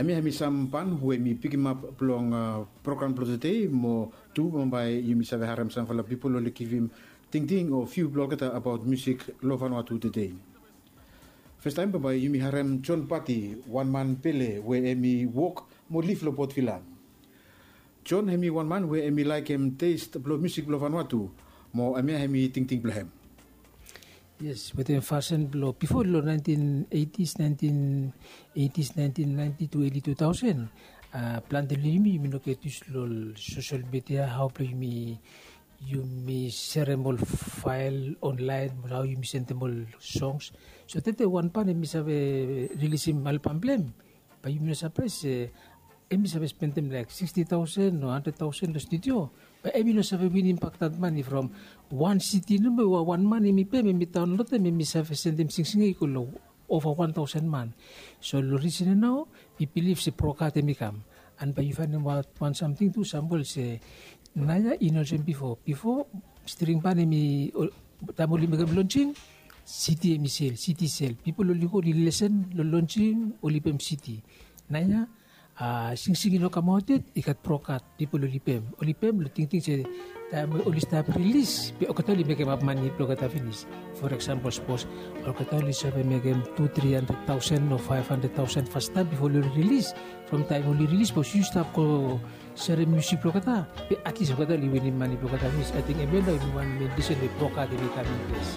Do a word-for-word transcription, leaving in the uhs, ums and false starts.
Hemia hemi sam pan we mi pikimap blong program blong tede mo tu bambae yumi save harem samfala pipol oli givim tingting o fiu blong olgeta abaot musik long Vanuatu tede. Festaem bambae yumi harem John Pati, wan man pele we hemi wok mo lif long Port Vila. John hemi wan man we hemi laekem test blong musik blong Vanuatu mo hemia hemi tingting blong hem. Yes, wetem fasin blong bifo long nineteen eighties, nineteen eighties, nineteen ninety to early two thousand. Plante long yumi yumi no get yus long social media, hao blong yumi yumi serem ol fael onlaen, hao yumi sendem ol songs. So tede wan pan hemi save rilisim albam blong hem, bae yumi no sapraes se hemi save spendem laek sixty thousand o hundred thousand long studio. Bae hemi no save winim bak dat mane from wan siti nomo we wan man hemi pem, hemi daonlodem, hemi save sendem singsinga i go long ova wan taosen man. So long risen ya nao mi bilif se brokat hemi kam. An bae yu faenem aot wan samting tu, sampol se naoia i no olsem bifo. Bifo string ban hemi, taem oli mekem lonsing, siti hemi sel, siti sel. Pipol oli go oli lesen long lonsing, oli pem siti. Naoia singsing i no kamaot yet, i gat brokat, pipol oli pem. Oli pem long tingting se taem we oli stap rilis be olgeta oli mekemap mane blong olgeta finis. For eksampol, sapos olgeta oli save mekem tu tri handred taosen o faef handred taosen fastaem bifo oli rilis. From taem oli rilis, sapos yu stap go serem musik blong olgeta, be atlis olgeta oli winim mane blong olgeta finis. Ating hemia nao hemi wan men risen we brokat hemi kam inples.